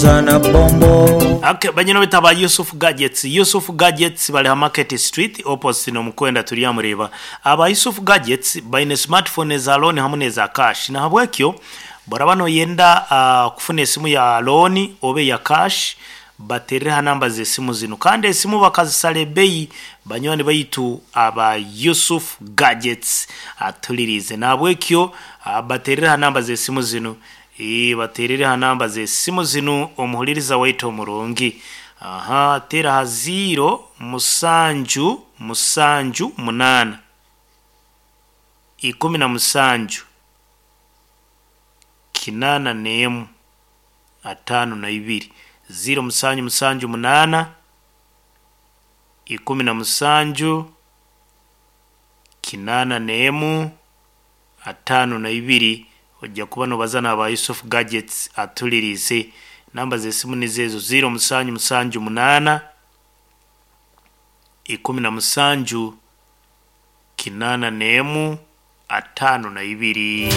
Zana bombo. Okay, banyina bita ba Yusuf Gadgets. Yusuf Gadgets bali ha Market Street opposite n'omukwenda turyamureeba. Aba Yusuf Gadgets baine smartphone eza loan hamu n'eza cash. Nahabwekyo boraba noyenda uh, kufuna esimu ya loan oba eya cash baterere ha namba z'esimu zinu. Kandi esimu bakazisara ebeyi banywani baitu aba Yusuf Gadgets atulirize. Nahabwekyo uh, baterere ha namba z'esimu zinu. Ii, baterere ha namba z'esimu zinu omuhuliriza waitu omurungi. Aha, tera ha 0 musanju musanju munaana 17 81 52 0 musanju musanju munaana 17 81 52 ojja kuba nobaza n'aba Yusuf Gadgets atulirize. Namba z'esimu nizo ezo 0 musanju musanju munaana 17 81 52.